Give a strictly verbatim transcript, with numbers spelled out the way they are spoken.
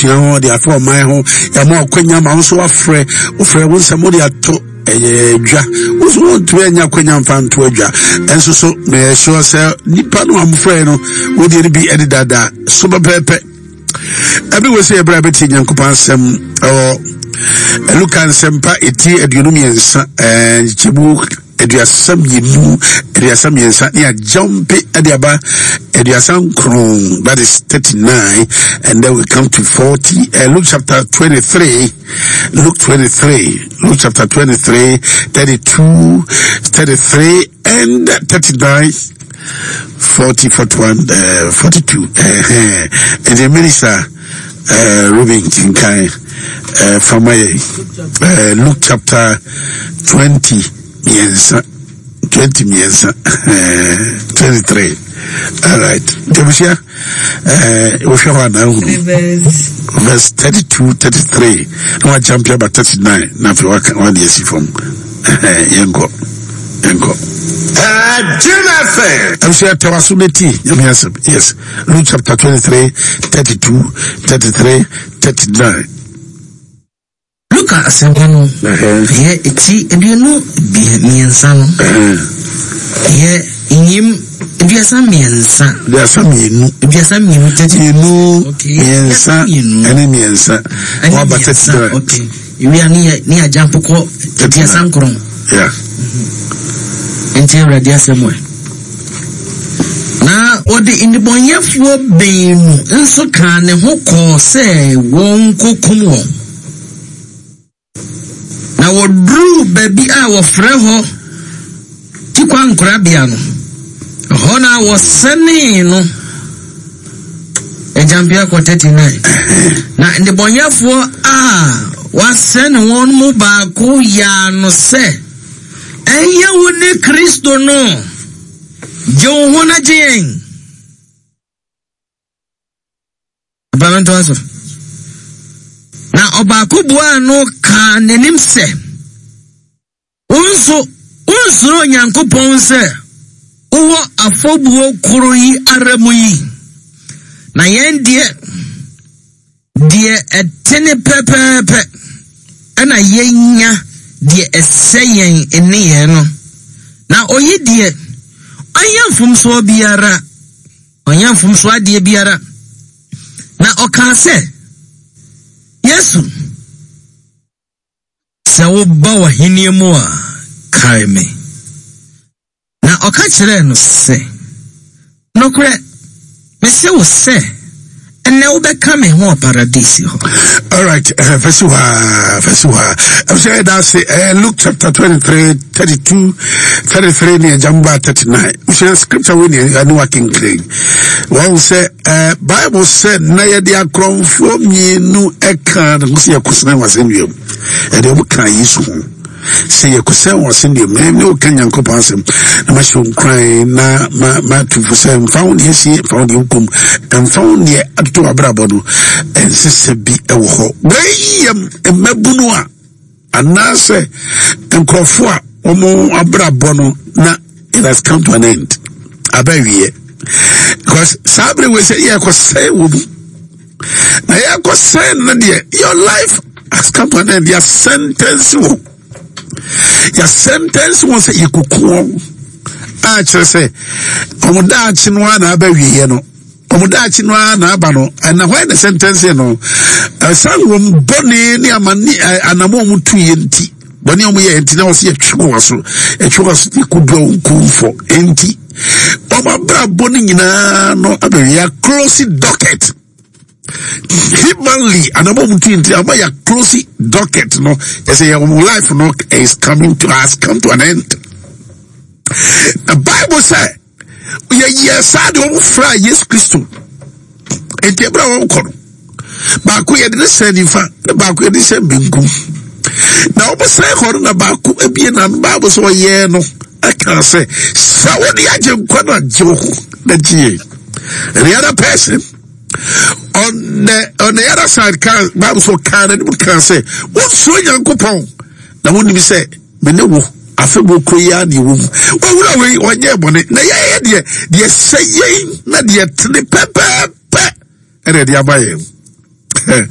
Abusua ho, de afa ɔman ho, yɛama ɔkwanya ma wo nso wafrɛ, wofrɛ wo nsɛm wode ato ɛyɛ dwa. Wo nso wontumi anya akwanya mfa nto adwa. Ɛnso so meyɛ sure sɛ nipa no a mofrɛ no, wodeɛ no bi ɛde dada so pɛpɛɛpɛ. Ɛbi wɔ sɛ yɛbrɛ a bɛtie Nyankopɔn asɛm ɛwɔ Luka nsɛmpa ɛti aduonu mmiɛnsa, nkyɛmu aduasa mmienu, aduasa mmiɛnsa ne agyampe ɛde aba aduasa nkron, that is thirty-nine, and then we come to forty. uh, Luke chapter twenty-three, Luke twenty-three, Luke chapter twenty-three, thirty-two, thirty-three and thirty-nine, forty, forty-one, uh, forty-two. Uh, and the minister uh, Ruben Kinkai uh, from my uh, Luke chapter twenty mmiɛnsa, twenty mmiɛnsa, twenty-three. All right, Debusia, wohwɛ hɔ anaa hunu verse thirty-two, thirty-three na wajump aba thirty-nine na afei waka wade asi fam. Yɛnkɔ, yɛnkɔ. Jim F M. Abusua, tɛwa so ne ti Nyame asɛm. Yes, Luke chapter twenty-three, thirty-two, thirty-three, thirty-nine. Luka asɛmpa no, ɛyɛ eti aduonu mmiɛnsa no, ɛyɛ nyim aduasa mmiɛnsa. Aduasa mmienu. Aduasa mmienu, thirty. Mmienu. Okay. Mmiɛnsa. Mmienu. Ɛne mmiɛnsa. Ɛne waba mmiɛnsa. thirty-nine. Okay, ewia ne yɛ ne yɛ agyampo kɔ aduasa nkron. Yeah. Nti Awurade asɛm ɛ. Na wɔde nnebɔnyɛfoɔ baanu nso kaa ne ho kɔɔ sɛ wɔnkɔkum wɔn. Na wɔduruu baabi a wɔfrɛ hɔ Tikwankorabea no, ɛhɔ na wɔsɛnee no. Agyampea kɔ thirty-nine. Na nnebɔnyɛfoɔ a wɔasɛne wɔn mu baako yaa no sɛ, "Ɛnyɛ wo ne Kristo no? Gye wo ho na gye yɛn." Abamentoa so. Na ɔbaako buaa no kaa n'anim sɛ, "Wo nso wonsuro Onyankopɔn sɛ wowɔ afɔbuo koro yi ara mu yi? Na yɛn deɛ, deɛ ɛtene pɛpɛɛpɛ ɛna yɛnya deɛ ɛsɛ yɛn nneyɛɛ no. Na oyi deɛ, ɔnyɛ mfomsoɔ biara, ɔnyɛ mfomsoɔ adeɛ biara." Na ɔkaa sɛ, "Yesu, sɛ woba w'ahenni mu a, kae me." Na ɔka kyerɛɛ no sɛ, "Nokorɛ, mese wo sɛ, ɛnnɛ wobɛka me ho wɔ Paradise hɔ." All right, uh, verse one, verse one. I'm saying that's uh, Luke chapter twenty-three, thirty-two, thirty-three, near Jamba thirty-nine. We say scripture when you are working clean. Wɔn sɛ uh, Bible sɛ na yɛde akorɔmfoɔ mmienu ɛka ne ho sɛ yɛkɔsɛn wɔ asɛnnua mu. Yɛde wɔn ka Yesu ho sɛ yɛkɔsɛn wɔ asɛnnua mu. Ne woka Nyankopɔn asɛm na mahyɛ wo nkuran na ma matufo sɛ mfa wo deɛ sie, mfa wo deɛ wokom, mfa wo deɛ atoto w'abrabɔ no, ɛnsesɛ bi ɛwɔ hɔ. Wei yɛ mmabunu a anaasɛ nkurɔfoɔ a wɔn abrabɔ no na it has come to an end, aba awie, because saa bere wei sɛ yɛkɔsɛn wɔ mu na yɛkɔsɛn no deɛ, your life has come to an end. Yɛ sentence wɔ, yɛ sentence wɔn sɛ yɛkuku wɔn a kyerɛ sɛ wɔn daakye no ara na aba awieɛ no, wɔn daakye no ara na aba no. Ɛna hɔ na sentence no ɛsan wɔn bɔne ne amane anamɔ a wɔn tu yɛ nti, bɔne a wɔn yɛ nti na wɔsi yɛtwe wɔn aso, yɛtwe wɔn aso, yɛkɔdua wɔn kumfɔ nti wɔn abrabɔ no nyinaa no abɛwie, yɛ close docket. Humanly, anamɔ a wɔn tu yɛ nti ama yɛ close docket no, yɛsɛ yɛ wɔn life no is coming to has come to an end. Na Bible sɛ yɛyɛ saa de wɔn fra Yesu Kristo nti, ebere a wɔn kɔ no, baako yɛde ne sɛn nifa na baako yɛde sɛn benkum. Na wɔn sɛn hɔ no na baako ebie na Bible sɛ ɔyɛ no ɛka sɛ sɛ wɔde agye nkwa no agye wo ho na gye yɛ. And the other person on the on the other side kan Bible sɛ ɔkan n'anim kan sɛ, "Wonsuro Nyankopɔn na wonim sɛ me ne wo afɛbɔ kuro yi ara na ɛwɔ mu? Wɔwura wei ɔnyɛ bɔne, na yɛyɛ deɛ deɛ sɛ yɛn na deɛ tene pɛpɛɛpɛ ɛna ɛde aba yɛn."